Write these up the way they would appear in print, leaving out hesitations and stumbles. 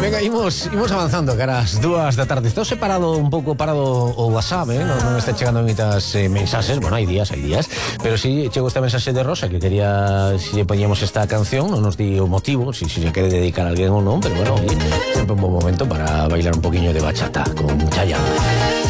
Venga, imos avanzando cara ás 2 da tarde. Estou separado un pouco parado o WhatsApp, non está chegando moitas mensaxes. Bueno, hai días, pero si chegou esta mensaxe de Rosa que quería si lle poñíamos esta canción, non nos di o motivo, si se quere dedicar a alguén ou non, pero bueno, sempre un bom momento para bailar un poquinho de bachata con Chayanne.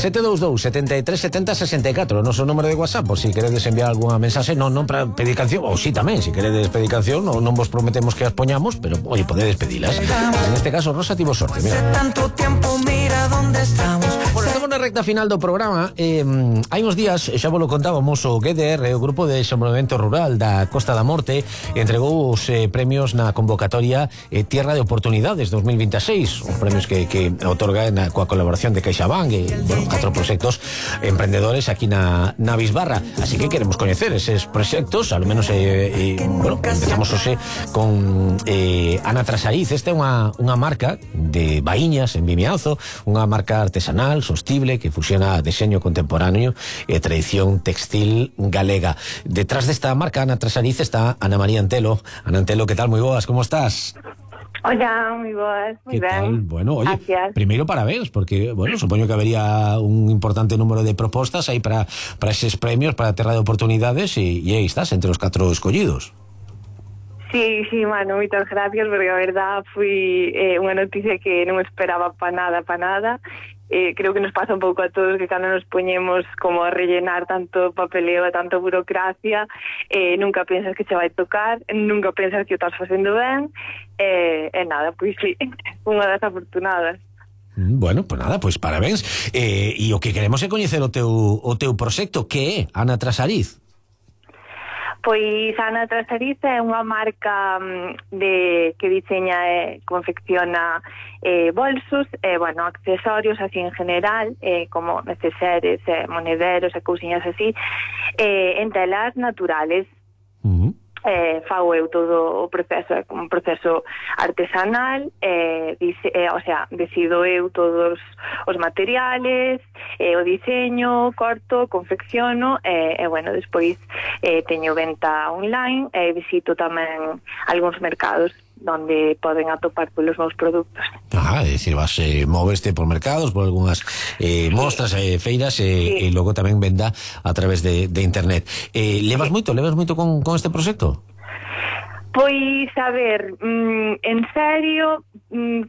722 73 70 64 o noso número de WhatsApp, por si queredes enviar algunha mensaxe, non para pedir canción, ou si tamén, si queredes pedir canción, non vos prometemos que as poñamos, pero oye, podedes pedilas. En este caso Rosa tivo sorte, mira. Tanto tiempo, mira dónde estamos. Bueno, estamos na recta final do programa. Hai uns días, xa vos lo contábamos, o GDR, o Grupo de Desenvolvemento Rural da Costa da Morte, entregou os premios na convocatoria Tierra de Oportunidades 2026, os premios que otorga coa colaboración de CaixaBank e, bueno, 4 proxectos emprendedores aquí na Bisbarra. Así que queremos coñecer eses proxectos, al menos bueno, empezamos hoxe con Ana Trasariz. Esta é unha marca de vaíñas en Vimianzo, unha marca artesanal, sostible, que fusiona deseño contemporáneo e tradición textil galega. Detrás desta marca, Ana Trasariz, está Ana María Antelo. Ana Antelo, que tal? Moi boas, como estás? Hola, moi boas, moi ben. Tal? Bueno, oye, gracias. Primeiro parabéns, porque, bueno, supoño que habería un importante número de propostas aí para eses premios, para a Terra de Oportunidades, e aí estás, entre os 4 escollidos. Sí, mano, moitas gracias, porque a verdad foi unha noticia que non esperaba pa nada. Creo que nos pasa un pouco a todos que cando nos poñemos como a rellenar tanto papeleo e tanto burocracia, nunca pensas que che vai tocar, nunca pensas que o estás facendo ben, e nada, pois sí, unha das afortunadas. Bueno, pues nada, pues parabéns. E o que queremos é coñecer o teu proxecto, que é Ana Trasariz. Pois Ana Trasariz é unha marca que diseña e confecciona bolsos, bueno, accesorios así en general, como neceseres, monederos e cousiñas así, en telas naturales. Fago eu todo o proceso, é como un proceso artesanal, o sea, decido eu todos os materiales, o diseño, corto, confecciono, e bueno, despois teño venta online e visito tamén algúns mercados donde poden atopar polos meus produtos. É dicir, vas moveste por mercados, por algunhas mostras, feiras, e logo tamén venda a través de internet. Levas moito con este proxecto? Pois, a ver, en serio,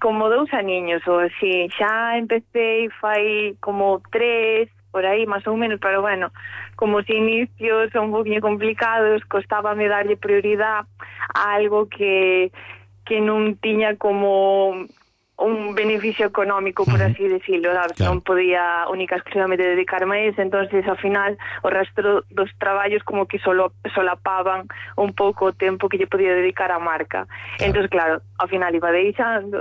como 2 aniños ou así. Xa empecé fai como 3, por aí, máis ou menos, pero bueno, como os inicios son un poquinho complicados, costábame darlle prioridade a algo que non tiña como un beneficio económico, por así decirlo, ¿sabes? Claro. Non podía única exclusivamente dedicarme a eso, entonces ao final o resto dos traballos como que solapaban un pouco o tempo que lle podía dedicar á marca. Claro. Entonces, claro, ao final iba deixando,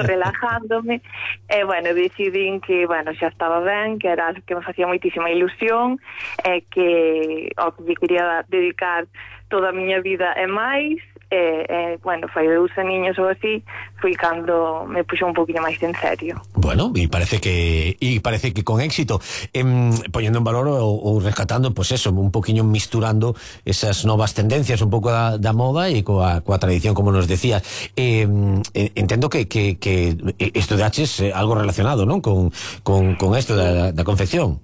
relajándome, e bueno, decidín que, bueno, xa estaba ben, que era que me facía moitísima ilusión, e que ao que quería dedicar toda a miña vida e máis. Bueno, fai 2 aniños ou así, foi cando me puxo un poquinho máis en serio. Bueno, e parece que con éxito, poñendo en valor ou rescatando, pues eso, un poquinho misturando esas novas tendencias, un pouco da moda e coa tradición, como nos decías. Entendo que estudaches algo relacionado, non? Con esto da confección.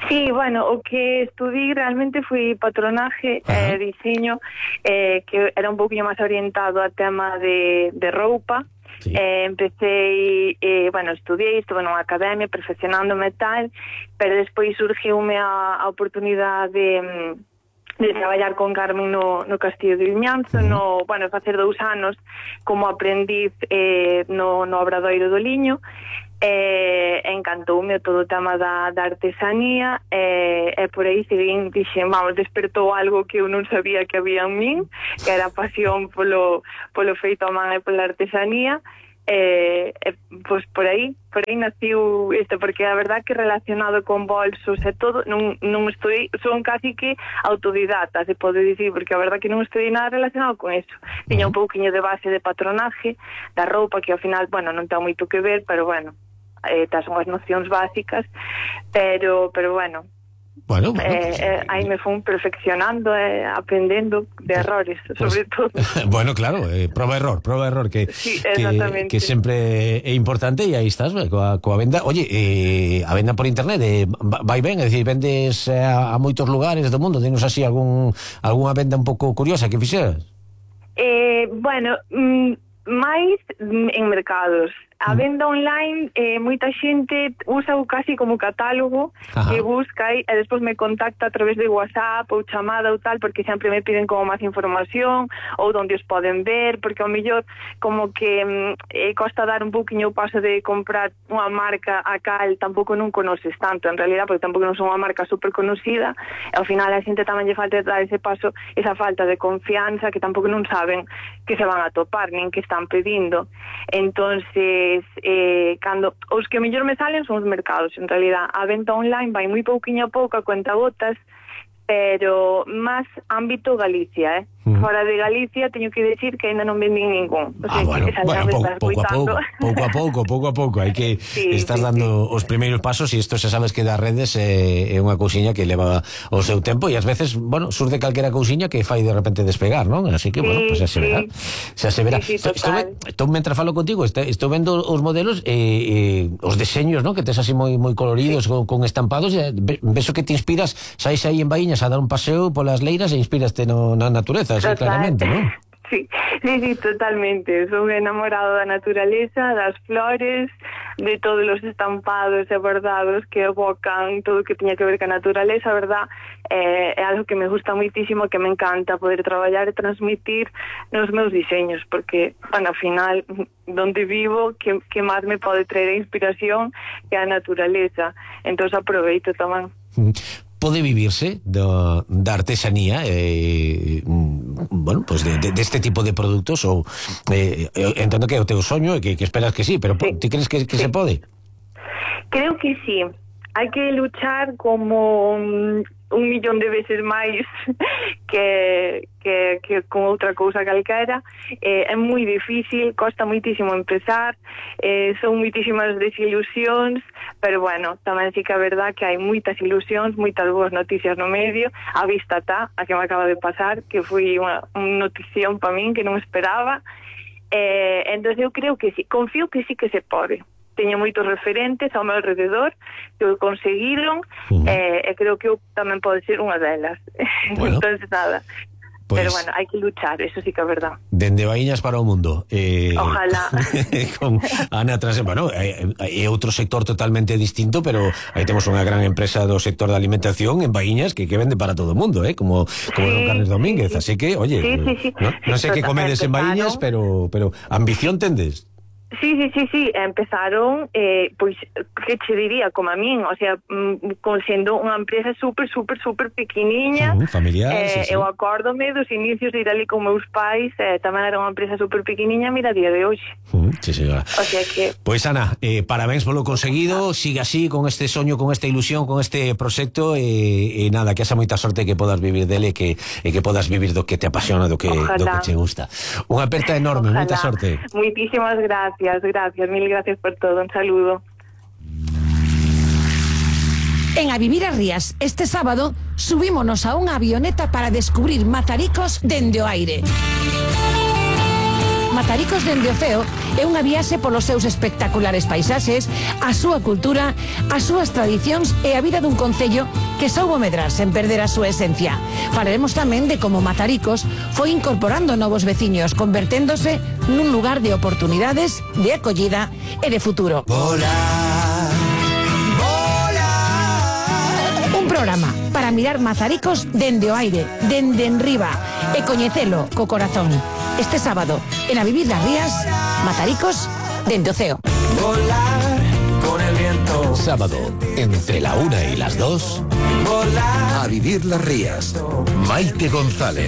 Sí, bueno, o que estudí realmente foi patronaje e diseño, que era un pouquinho máis orientado a tema de roupa. Sí. Empecé, bueno, estudiei, estuve nunha academia perfeccionándome tal, pero despois surgiume a oportunidade de traballar con Carmen no Castillo de Vimianzo, bueno, facer 2 anos como aprendiz no Obradoiro do Liño. Encantoume todo o tema da artesanía, e por aí seguín, dixen, vamos, despertou algo que eu non sabía que había en min, que era a pasión polo feito a man e pola artesanía. Pois por aí naciu isto, porque a verdad que relacionado con bolsos e todo non estudei, son casi que autodidata, se pode dicir, porque a verdad que non estudei nada relacionado con eso. Tiña un pouquiño de base de patronaje da roupa, que ao final, bueno, non ten moito que ver, pero bueno, tas son as nocións básicas, pero bueno, Bueno. Aí me fun perfeccionando, aprendendo de errores, sobre todo. Bueno, claro, prova error que sempre é importante, e aí estás, coa venda. Oye, a venda por internet vai ben, é dicir, vendes a moitos lugares do mundo. Dinos así algunha venda un pouco curiosa que fixeras? Bueno, máis en mercados. A venda online, moita xente usa casi como catálogo. Ajá. Que busca e despois me contacta a través de WhatsApp ou chamada ou tal, porque sempre me piden como máis información ou onde os poden ver, porque ao mellor como que costa dar un pouquiño o paso de comprar unha marca a cal tampouco non conoces tanto en realidad, porque tampouco non son unha marca super conocida, e ao final a xente tamén lle falta dar ese paso, esa falta de confianza, que tampouco non saben que se van a topar nin que están pedindo. Entonces cando os que mellor me salen son os mercados. En realidad a venta online vai moi pouquiño a pouco, a cuentagotas, pero máis ámbito Galicia, Fora de Galicia teño que decir que ainda non vendín ningún. O sea, bueno, pouco a pouco hai que estás dando os primeiros pasos, e isto xa sabes que das redes é unha cousiña que leva o seu tempo, e ás veces, bueno, surde calquera cousiña que fai de repente despegar, non? Así que, bueno, pues xa se verá. Xa se verá. Estou mentre falo contigo, estou vendo os modelos, os deseños, non? Que tes así moi coloridos, con estampados, e ves o que te inspiras, sais aí en Baíñas a dar un paseo polas leiras e inspiraste na natureza. Sí, claramente, ¿no? Sí, totalmente. Son enamorado da naturaleza, das flores, de todos os estampados e bordados que evocan todo o que tiña que ver ca naturaleza, verdad? É algo que me gusta moitísimo, que me encanta poder traballar e transmitir nos meus diseños, porque, bueno, ao final, donde vivo, que máis me pode traer a inspiración é a naturaleza. Entón, aproveito tamén. Pode vivirse da artesanía, bueno, pues deste tipo de produtos, ou entendo que é o teu soño e que esperas que sí, pero ti crees que se pode? Creo que sí. Hai que luchar como 1.000.000 de veces máis que con outra cousa calquera. É moi difícil, costa moitísimo empezar, son moitísimas desilusións, pero bueno, tamén sí que é verdad que hai moitas ilusións, moitas boas noticias no medio. A vista está, a que me acaba de pasar, que foi unha notición para min que non esperaba. Entón eu creo que sí, confío que sí que se pode. Teño moitos referentes ao meu alrededor que o conseguiron, e creo que eu tamén pode ser unha delas. Bueno, entonces nada, pues, pero bueno, hai que luchar, eso sí que é verdad. Dende Baíñas para o mundo, ojalá. Con Ana Trase. Bueno, é outro sector totalmente distinto, pero aí temos unha gran empresa do sector da alimentación en Baíñas que vende para todo o mundo, como Don Carles Domínguez, así que, oye, non sei que comedes en Baíñas, pero ambición tendes. Sí, empezaron, pois, que che diría, como a min, o sea, sendo unha empresa super pequeniña, familiar, eu acórdome dos inicios de ir ali con meus pais, tamén era unha empresa super pequeniña, mira, a día de hoxe. Sí, señora. O sea que... Pois, Ana, parabéns polo conseguido, siga así, con este soño, con esta ilusión, con este proxecto, e nada, que haxa moita sorte que podas vivir dele, e que podas vivir do que te apasiona, do que te gusta. Unha aperta enorme, moita sorte. Moitísimas gracias, mil gracias por todo, un saludo. En A Vivir as Rías, este sábado, subímonos a unha avioneta para descubrir Mazaricos dende o aire. Mazaricos dende o ceo é unha viaxe polos seus espectaculares paisaxes, a súa cultura, as súas tradicións e a vida dun concello que soubo medrar sen perder a súa esencia. Falaremos tamén de como Mazaricos foi incorporando novos veciños, converténdose nun lugar de oportunidades, de acollida e de futuro. Un programa para mirar Mazaricos dende o aire, dende enriba, e coñecelo co corazón. Este sábado, en A Vivir las Rías, Mazaricos dende o ceo. Volar con el viento. Sábado, entre la 1 y las 2. Volar. A Vivir las Rías. Maite González.